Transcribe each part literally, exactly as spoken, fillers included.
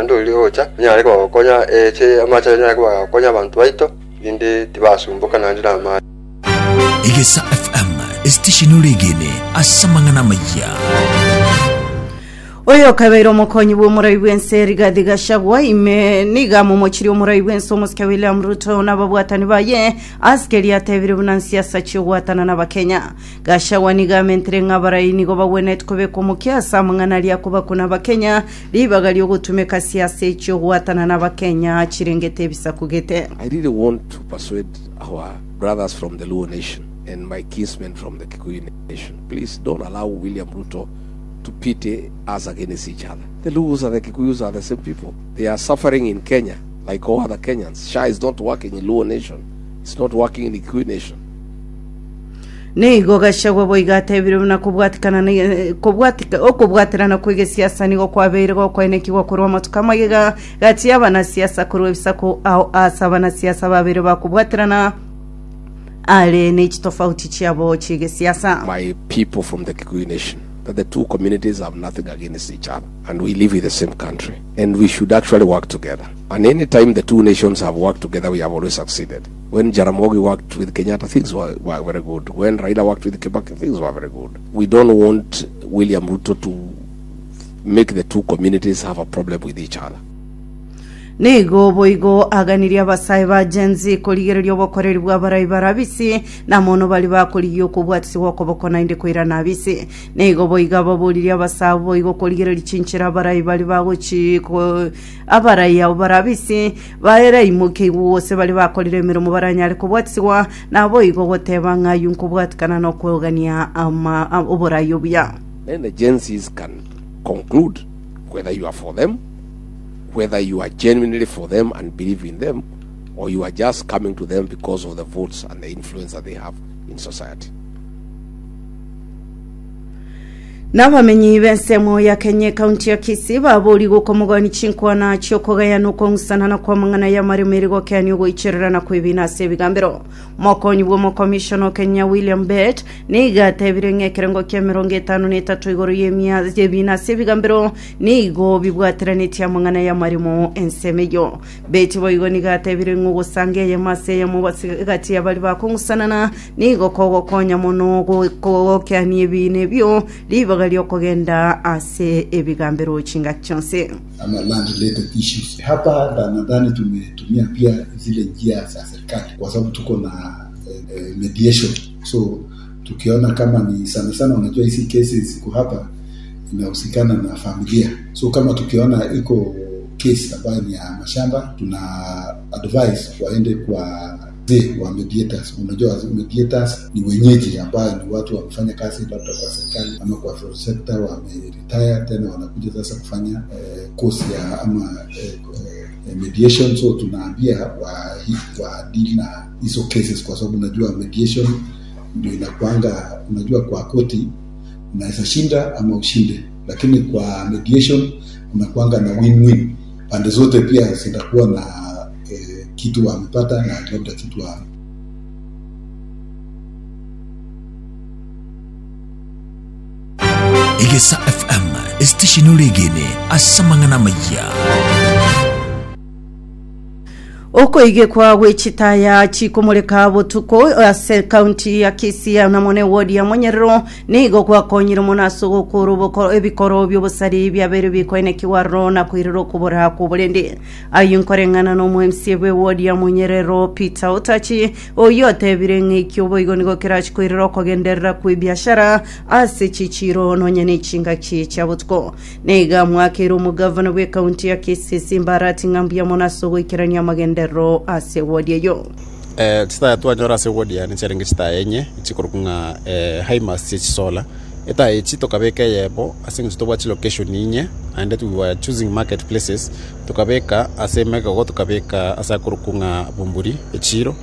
Naende oria ogocha onyare kobagokonya eche amache anyare kobagokonya abanto baito, rinde tibasumboka naende na amache. Egesa F M, esitesheni oregene ase amang'ana amaya. Oyo kabeire omokonyi bw'omorai bw'ense Rigathi Gachagua ime niga momochiri omorai bw'ense omosike William Ruto n'ababwatani baye asikeri atebire buna nsiasa chiogwatana n'abakenya. Gachagua niga amentire ng'a abarai nigo bagwenerete kobeka omokia ase amang'ana aria akobakuna abakenya ribaga riogotumeka siasa echiogwatana n'abakenya chirengete ebisaku gete. I really want to persuade our brothers from the Luo Nation and my kinsmen from the Kikuyu Nation. Please don't allow William Ruto to pit us against each other. The Luos and the Kikuyus are the same people. They are suffering in Kenya like all other Kenyans. S H A is not working in Luo Nation. It's not working in the Kikuyu Nation. Nigo Gachagua boigo atebire buna kobwatikana na- kobwatika okobwaterana kwa egesiasa nigo kwabeire gokwenekigwa korwa amatuko amagega gati y'abanasiasa korwa ebisaku ao ase abanasiasa babere bakobwaterana are nechitofauti chiabo chiegesiasa. My people from the Kikuyu Nation, that the two communities have nothing against each other and we live in the same country and we should actually work together. And any time the two nations have worked together, we have always succeeded. When Jaramogi worked with Kenyatta, things were, were very good. When Raila worked with Kibaki, things were very good. We don't want William Ruto to make the two communities have a problem with each other. Nigo boigo aganirie abasae ba Gen Z korigereria obokoreri bwa abarai barabisi na mono bari bakorigia okobwatisiwa okoboko naende koirana abisi. Nigo boigo ababoririe abasae boigo korigereria chinchera abarai bari bagochi ko- abarai abo barabisi baeraimokeigwe gose bari bakorire emeremo baranyare kobwatisiwa na boigo goteba ng'a nkobwatikana na okwogania ama oborai obuya. Then the Gen Zs can conclude whether you are for them, whether you are genuinely for them and believe in them, or you are just coming to them because of the votes and the influence that they have in society. N'abamenyi b'ensemo ya Kenya kaunti ya Kisii babori gokomogani chinkwana chiokogayana okong'usanana kwa mang'ana ya maremeri gokeani ogoichererana kwebina ase ebigambero. Mokonyi bwa omokomishona o Kenya William Bet niga atebire ng'a ekerengo kia emerongo etano na etato igoro y'emia y'ebina ase ebigambero nigo bibwateranetie amang'ana ya maremo ensemo eyo. Bet boigo niga atebire ng'a ogosanga eyemo ase eyemo base egati ya bari bakong'usanana nigo kogokonya mono gokeani ebina ebio ribaga riokogenda ase ebigambero chingaki chionsi. Ama land related issues. Hapa na nadhani tumetumia pia zile njia za serikali kwa sababu tuko na eh, mediation. So tukiona kama ni sana sana, unajua hizi kesi ziko hapa inahusikana na familia, so kama tukiona iko kesi ambayo ni ya mashamba, tuna advise waende kwa wazee wa mediators. Unajua mediators ni wenyeji ambayo ni watu wamefanya kazi labda kwa serikali ama kwa private sector, wameretire tena wanakuja sasa kufanya eh, course ya ama eh, eh, mediation. So tunaambia wa, wa deal na hizo cases, kwa sababu unajua mediation ndio inakuanga, unajua kwa koti unaweza shinda ama ushinde, lakini kwa mediation unakuanga na win-win, pande zote pia zitakuwa na eh, kitu wamepata na labda kitu wa Egesa F M, esitesheni oregene ase amang'ana amaya. Okoigekwa gwechitaya chikomoreka botuko ase kaunti ya Kisii namone wodi ya Monyerero nigo gwakonyire mono ase ogokora oboko- ebikoro by'obosari byabere bikoenekiwa na kwirira okobora kw'oborende. Ayo nkoreng'ana na omo M C bwe wodi ya Monyerero Peter Otachi oyo otebire ng'a oboigo nigo kerachi kwirira okogenderera kwa ebiashara ase chichiro nonye na echingaki chia botuko. Niga mwakire omogavana bwe kaunti ya Kisii Simba Arati ng'a mbuya mono ase ogoikerania amagenderero ase wodi eyo. eh, chitaya twanyora ase wodi yane chiarenge chitaya enye chikorokwa ng'a eh, high mast chisola etaya echi tokabeka eyebo ase eng'encho tobwate chilocation inye naende we were choosing market places. Tokabeka ase Megogo, tokabeka ase akorokwa ng'a Bumburi echiro,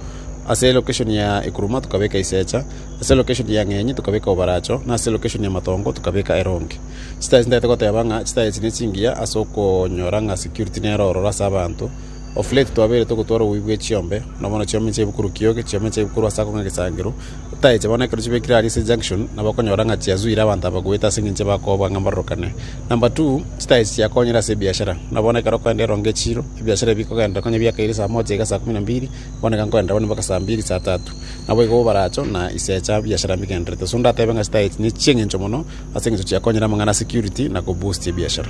ase location ya Ekuruma tukabeka Isecha, ase location ya Ng'enyi tukabeka Obaracho, na ase location ya Matongo tukabeka Eronge. Chitaya chintagete goteba ng'a chitaya echi nechingiya ase okonyora ng'a security nero ororo ase abanto. Of late twabere togotwara obubi bwa chiombe nobono chiombe nchiaibukuru kioge chiombe nchiaibukuru ase akong'a egesangero taeche bono ekero chibekire aria ase junction nabo okonyora ng'a chiazuire abanto aba goeta ase eng'encho bakoba ng'a mbarorokane. Number two, chitaechi chiakonyire ase ebiashara nabono ekero okoenda erongo echiro ebiashara ebikogenda konya biakaire saa moja iga saa kumi na mbili bono iga nkoendera bono mpaka saa mbili saa tatu nabo igo obaracho na isecha biashara mbigenderete. So ndatebe ng'a chitaechi ni chieng'encho mono ase eng'encho chiakonyire amang'ana security na koboost ebiashara.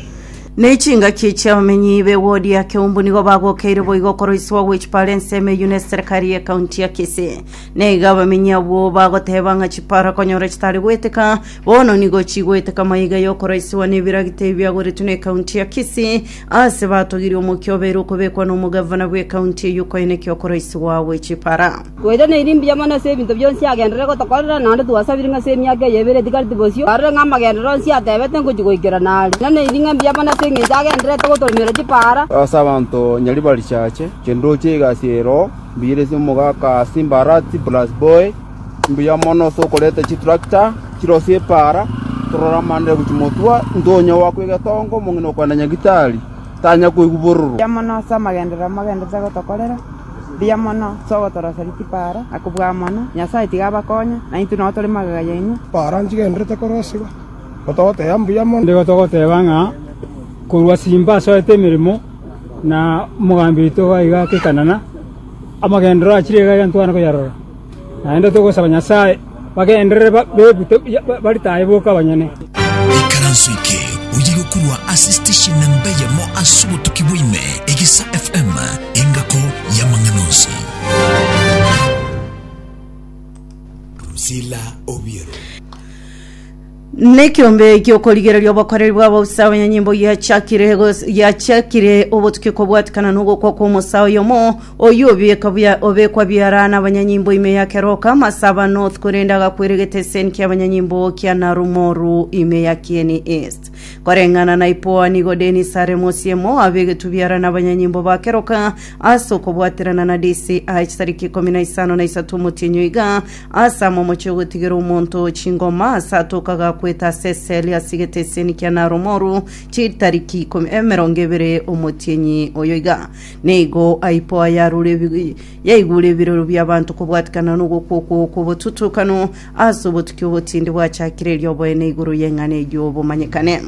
Nechingaki chiabamenyi be ward ya Keumbu nigo bagokeire boigo koroisiwa gwechipara ensemo eywo na eserikali ya ekaunti ya Kisii. Nigo abamenyi abwo bagoteba ng'a chipara konyora chitari gweteka bono nigo chigweteka maiga yokoroisiwa na ebiragita ebiagoretwe na ekaunti ya Kisii ase batogirie omokia obeire okobekwa na omogavana bwa ekaunti eywo koeneki okoroisiwa gwechipara. Twete na irimbi yamana ase ebinto bionsi agenderere gotokorera naende twasabire ng'a ase emiaka eye ebere tigareti bosio arore ng'a amagendero onsi atebete ngochi goikera nare na na eri ng'a mbuya mono ase eng'encho agenderete gotoromera chipara. Ase abanto nyaribari chache chendoche egasi ero mbire ase omogaka Simbarati plus boy mbuya mono ase okoreta chitractor chirosie epara torora amandere gochimotwa ntonya wakwa egetongo omong'ina okwenda nyagitari tanya koigwa bororo. Mbuya mono ase amagendero amagenderete gotokorera mbuya mono ase ogotoroseri chipara akobua mono Nyasaye tiga abakonye na intwe nabo tore magega yaino. Para nchigenderete korosiwa gotogoteba mbuya mono. Ndigo togoteba ng'a korwa Simba asoete emirimo na omogambi oito iga akekanana amagendero achire iga ntwana koyarora naende togosaba Nyasaye bagenderere bebute baritaye boka abanyene. Ikaranso eke oyigokurwa ase station namba yamo ase obotuki bwaime Egesa F M engako ya mang'anonsi. Rusila Obiero. Nekiombe giokorigereria obokoreri bw'abausa abanyanyimbo giachakire giachakire obotuki kobwatikana n'ogokwa kw'omosa oyomo oyo obeka bya obekwa biarana abanyanyimbo ime ya Keroka Masaba North korenda agakweregete eseni kia abanyanyimbo kia Narumoru ime ya Kieni East. Koreng'ana na ipoa nigo Dennis Aremosiemo abegetu biarana abanyanyimbo ba Keroka ase okobwaterana na D C I tariki ikomi na isano na isatu omotienyi iga ase amomochi ogotigera omonto chingoma ase atokaga kweta seseli asigete eseni kia Narumoru chitariki ikomi emerongo ebere omotienyi oyo iga. Nigo aipoa yarure yaigure ebiroro by'abantu kobwatikana n'ogokwo kw'obotutukano ase obotuki obotindi bwachakire erioboene igoro y'eng'ana eywo bomanyekane.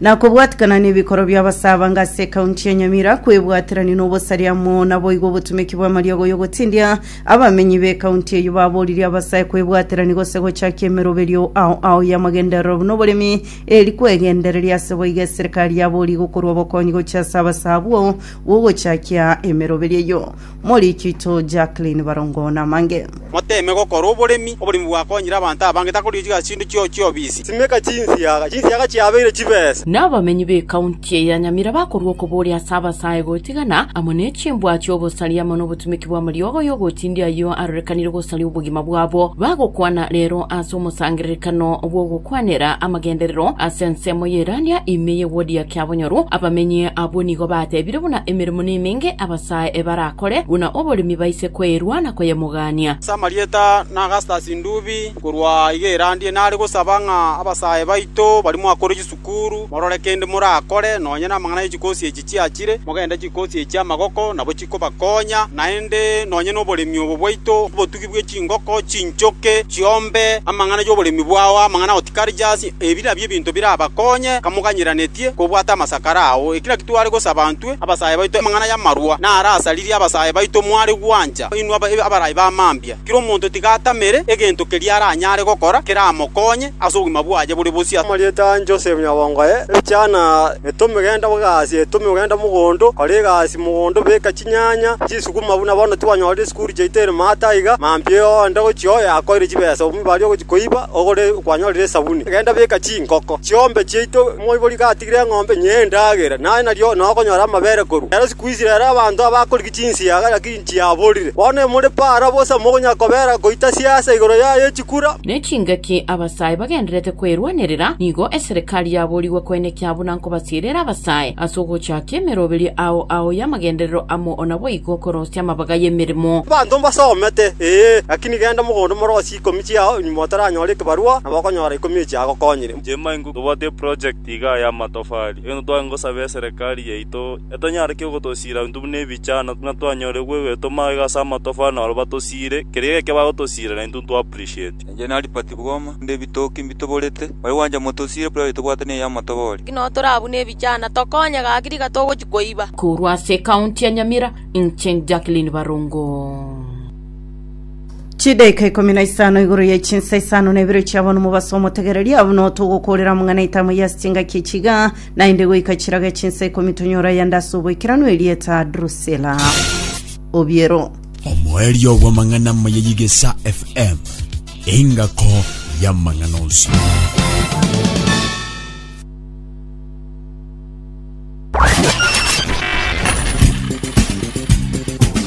Na kobwatikana n'ebikoro by'abasaba ngase ekaunti ya Nyamira kwebwaterani n'obosariamo nabo igo obotumeki bwa mariogo yogotindia abamenyi b'ekaunti eyo baboririe abasae kwebwaterani gose gochakia emeroberio ao ao y'amagenderero n'oboremi eri kwegendereria ase boiga eserikali yabori gokorwa obokonyi gochia ase abasabwo bogochakia emeroberio eyo. Morikito Jacqueline Barongo na mange moteme gokora oboremi oboremi bwakonyire abanto abange takorichiga chindu chio chiobisi simeka chinsiaga chinsiaga chiabeire chibesa. N'abamenyi b'ekaunti ya Nyamira bakorwa okoboria ase abasae gotigana amo n'echimbwa chi'obosaria amo n'obotumeki bwa mariogo yogotindia ayo arorekanire gosaria obogima bwabo bagokwana rero ase omosangererekano bw'ogokwanera amagenderero ase ensemo y'erania ime y'ewodi ya Kiabonyoru. Abamenyi abwo nigo batebire buna emirimo n'emenge abasae ebarakore buna oboremi baise kwerwa na koyemogania. Samarieta na Augustus Ndubi korwa iga erandie nare gosaba ng'a abasae baito bari mwakore chisukuru morore kende morakore nonye namang'ana y'echikosi echi chiachire mogende chikosi echi amagoko nabo chikobakonya naende nonye n'oboremi obo bwaito obotugi bwe chingoko chinchoke chiombe amang'ana y'oboremi bwao amang'ana horticulture ebira by'ebinto birabakonye kamoganyiranetie kobwata amasakara ao ekira kitware gosaba ntwe abasae baito amang'ana y'amarwa narasaririe abasae baito mware gwancha inwe abarayi bamambia kiro omonto tigatamere egento keria aranyare gokora keramokonye ase obogima bwaye bore bosia. Marieta Joseph Nyabongoe ebichana etomegenda bugasi etomegenda mugondo kore egasi mugondo beka chinyanya chisukuma buna bono twanyorire esukuru chaitere mata iga mambie onde gochio yakoire chibesa omubari ogochikoiba ogore kwanyorire esabuni genda beka chinkoko chiombe chiaito moibori gatigire eng'ombe nyendagera naye nario nokonyora amabere koru ero siku ici rero abanto abakoriki chinsiaga lakini chiaborire bono emore para bosa mogonya kobera koita siasa igoro yaye chikura. Nechingaki abasae bagenderete kwerwanerera nigo eserikali yaborigwe Kwenekia buna nkobasirera abasae ase ogochaka emeroberi ao ao y'amagenderero amo onabo igo korosia amabaga y'emirimo. Bantu mbasomete ee lakini genda mogondo morosi ikomi chiao nyuma otaranyora ekibarua nabo okonyora ikomi echi agokonyire. Jemaingu tobwate project iga ya matofali eno twangosaba eserikali yaito etonyareke ogotosira ntu buna ebichana buna twanyore gwegwetoma igasa amatofali naro batosire keria geke bagotosira naintu twa appreciate. Nje naripati bwoma nde bitoki mbitoborete bari wanja motosire project tobwate ne ya matobori kino torabuna ebichana tokonye gakiri gatogochikoiba. Korwa ase ekaunti ya Nyamira, Incheng Jacqueline Barongo. Chidaika ikumi na isano iguru ya chinsa isano na ibere chiabo mubaso omotegereria abo tugukorera mung'ana itamo ya sitinga kichiga na inde goika chiraga chinsa ikumi tunyora yandase oboikerano elieta Drusela Obiero. Omoerio wa mang'ana mayeyigesa F M engako ya mang'ana onsi.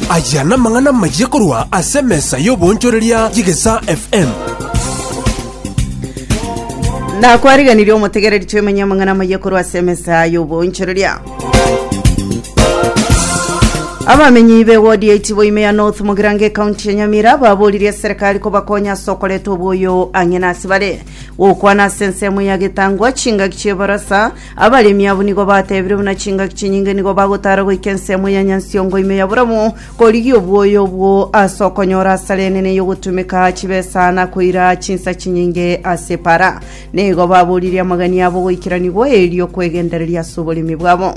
Aya namang'ana maye korwa ase emesa y'obonchoreria y'Egesa F M. Na kwariganirie omotegereri twemenya amang'ana maye korwa ase emesa y'obonchoreria. Abamenyi be ward eight boime ya North Mugirange county ya Nyamira baboririe serikali kobakonya sokoleto oboyo ang'ina asibare gokwana ase ensemo ya getangwa chingaki chiebarasa abaremi abo nigo batebire buna chingaki chinyinge nigo bagotara goika ensemo ya Nyansiongo ime ya Buramu korigia oboyo obwo ase okonyora asare enene yogotumeka chibesa na koira chinsa chinyinge ase para nigo baboririe amagani abo goikeranigwa erio kwegendereria ase oboremi bwabo.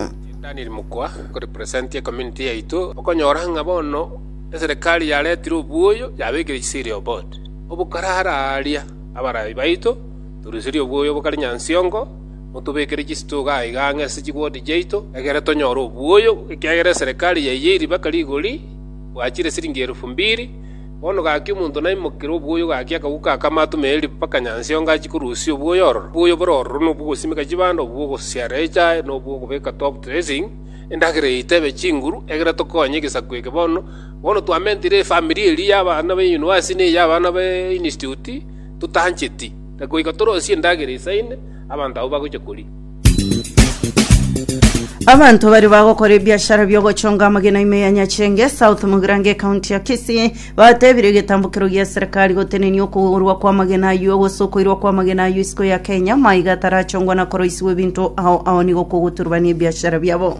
Daniel Mukwa ko represent community yaitu okonyora ng'abono eserikali yaretire obuoyo yabekire cereal board obukarara aria abarayi baito turusirie obuoyo bukari Nyansiongo mutubekere chisitoga iga ng'ese chigwodi jaito egere tonyora obuoyo ekiagera eserikali yaiyeri bakari igori bwachire siringi elfu mbili bono gaki omonto naimokire obuoyo gaki akaguka akamatumeri mpaka Nyansiongo achikurusia obuoyo ororo obuoyo bororo nobugosimika chibando obuogosiara echae nobuogobeka top dressing endagere itebe chinguru egere tokonye egesaku bono bono twamentire efamily eri y'abana be university ne y'abana be institute tutancheti goika torosie endagere isaine abanto abo bagocha kori. Abantu bari bagokora ebiashara byogochonga amagena ime ya Nyachenge South Mugirange county ya Kisii batebire egetambukero gia serikali gotenenia okogorwa kwa amagena ayo gosokoirwa kwa amagena ayo isiko ya Kenya maiga tarachongwa na koroisiwe ebinto ao ao nigo kogoturubania ebiashara biabo.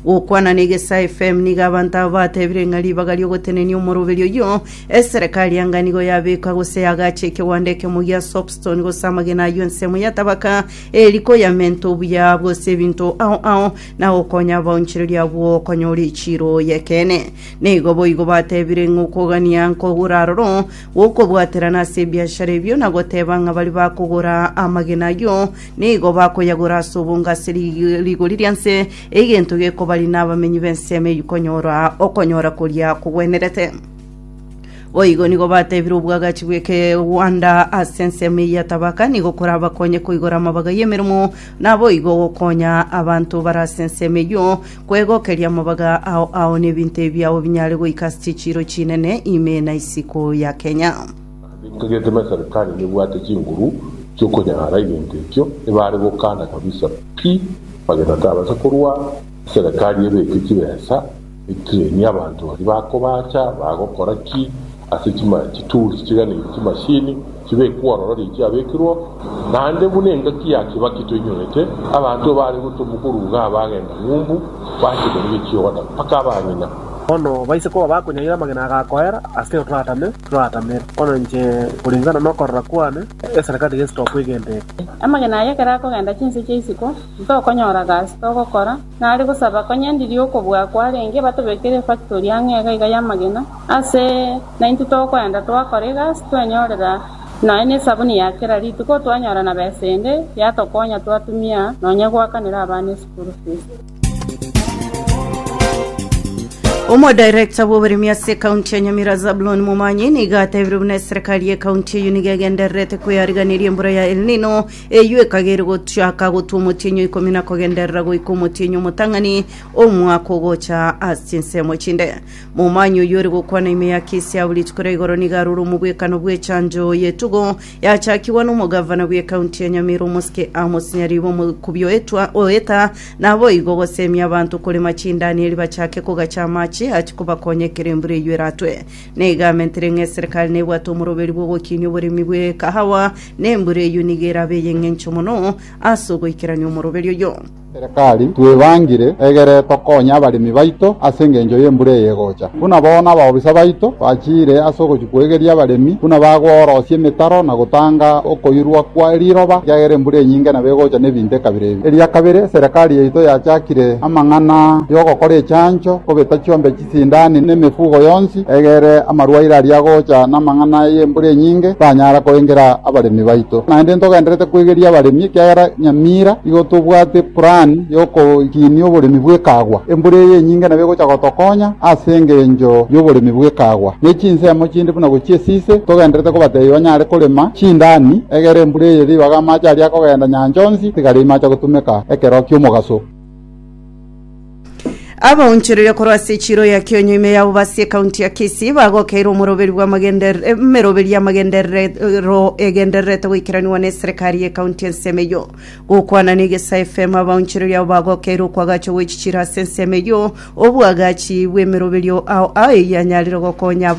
Gokwana na Egesa F M nigo abantu abo batebire ng'a ribaga riogotenenia omoroberi oyo eserikali yanga nigo yabeka gose yagacha ekewanda ekemo gia soapstone gose amagena ayo ensemo ya tabaka eriko yamenta obuya bwose ebinto ao ao na okonya abaonchereria abwo okonyora echiro yekene. Nigo boigo batebire ng'a okogania nkogora aroro gokobwaterana ase ebiashara ebio na goteba ng'a bari bakogora amagena ayo nigo bakoyagora ase obongo ase rigori ria nse egento gekobari na abamenyi b'ensemo eywo konyora okonyora koria kogwenerete. Boigo nigo batebire obwagachi bweke Rwanda ase ensemo ya tabaka nigo korabakonye koigora amabaga y'emirimo nabo igo gokonya abantu barase ensemo eyo kwegokeria amabaga ao ao n'ebinto ebiabo binyare goika ase chichiro chinene ime na isiko ya Kenya. Nkagetema serikali nibwate chinguru chiokonyara ebinto ekio ebare gokana kabisa pi bagenda tabasa korwa serikali ebeke chibesa etreni abantu bari bakobacha bagokora ki ase chima chitools chigani chimashini chibekwororo chiabekirwo nande bunenga kiyaki bakitwenyorete abantu bari gutumukuruga bagenda ng'umbu bakigorire chioda paka abang'ina bono baise kuba bakonyaira amagena agakoera ase turatamire turatamire bono nche kulingana nokorora kwane eserikali gestop igendete amagena aya ekero akogenda chinse chia isiko ntokonyora gasi togokora nari gosaba konyendirie okobua kwarenge batobekere factory ang'e iga ya amagena ase naintwe tokoenda twakora egasi twenyorera naye na esabuni ya kera rituko twanyora na besa ende yatokonya twatumia nonya gwakanera abana eschool fees. Omo director bw'oboremi ase ekaunti ya Nyamira Zablon Momanyi nigo atebire buna eserikali ya ekaunti eyo nigo egendererete kweyariganiria embura ya El Nino eyo ekagere gochaka gotwa omotienyi ikomi na kogenderera goika omotienyi omotang'ani omwaka ogocha ase chinsemo chinde. Momanyi oyo ori gokwana ime ya Kisii abwo rituko ria igoro nigo arure omobwekano bwa echanjo yetugo yachakiwa na omogavana bwa ekaunti ya Nyamira omosike Amos Nyaribo omokubi oetwa oeta nabo igo gosemia abanto korema chindani eri bachake kogacha amache achi kobakonyekera embura eyo eratwe. Niga amentere ng'a eserikali nebwate omoroberi bwa ogokinia oboremi bwa ekahawa na embura eyo nigo erabe ey'eng'encho mono ase ogoikerania omoroberi oyo. Serikali twebangire egere tokonya abaremi baito ase engencho y'embura eye egocha buna bono abaobisa baito bachire ase ogochikwegeria abaremi buna bagworosia emetaro na gotanga okoirwa kwa riroba kiagera embura enyinge nabo egocha na ebinto ekabira ebi. Eria kabere serikali yaito yachakire amang'ana yogokora echancho kobeta chiombe chisindani na emifugo yonsi egere amarwaire aria agocha na amang'ana y'embura enyinge tanyara koengera abaremi baito naende ntogenderete kwegeria abaremi kiagera Nyamira igo tobwate plan yokokinia oboremi bwekagwa embura eye enyinge nabo egocha gotokonya ase engencho y'oboremi bwekagwa ne chinsemo chinde buna gochia esise togenderete kobatebia banyare korema chindani egere embura eye ribaga amache aria akogenda nyancha onsi tigari imacha gotumeka ekero kia omogaso. Abaonchereria korwa ase echiro ya Kionyo ime yabo base ekaunti ya Kisii bagokeire omoroberi bwa amagenderero emeroberi ya amagenderero egendererete goikeraniwa na eserikali ya ekaunti ensemo eyo. Gokwana na Egesa F M abaonchereria abo bagokeire okwagacha gwechichiro ase ensemo eyo obwagachi bwa emeroberio ao ao eyanyarire gokonya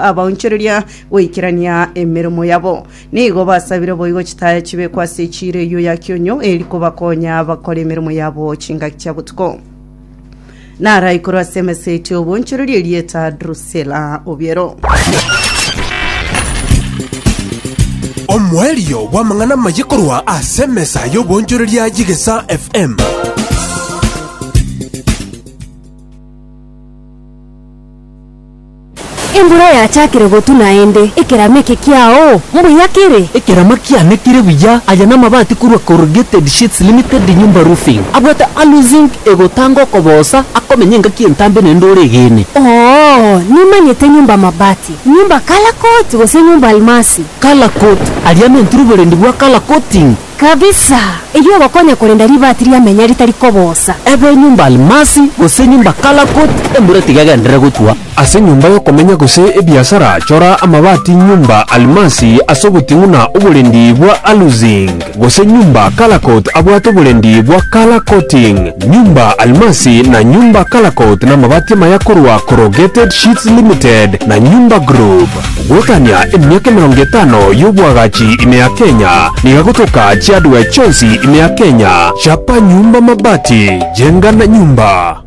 abaonchereria goikerania emeremo yabo. Nigo basabire boigo chitaya chibekwa ase echiro eyo ya Kionyo eri kobakonya bakora emeremo yabo chingaki chia botuko. Nara ikoro ase emeseti obonchereria erieta Drusela Obiero. Omwelio bw'amang'ana maye korwa ase emesa y'obonchoreria y'Egesa F M. Embura yachakire gotu naende ekerama eke kiao mbuya kere. Ekerama kiane kere buya aya n'amabati korwa Corrugated Sheets Limited Nyumba Roofing abwate aluzinc egotanga okobosa akomenya engaki entambe naende ore egene. Oo nimanyete nyumba mabati nyumba Color gose nyumba almasi. Color Coat aria mentire oborendi bwa color coating. Kabisa eyo ogokonya korenda ribati riamenya ritari kobosa. Ebe nyumba almasi gose nyumba Color Coat embura tigagendere gotwa. Ase nyumba yokomenya gose ebiasara chora amabati nyumba almasi ase oboting'u na oborendi bwa aluzinc gose nyumba Color abwate oborendi bwa color coating. Nyumba almasi na nyumba Color na amabati amaya korwa Corrugated Sheets Limited na Nyumba Group gwetania emiaka emirongo etano y'obwagachi ime ya Kenya niga gotoka chiadwe chonsi ime ya Kenya. Chapa nyumba mabati, jenga na nyumba.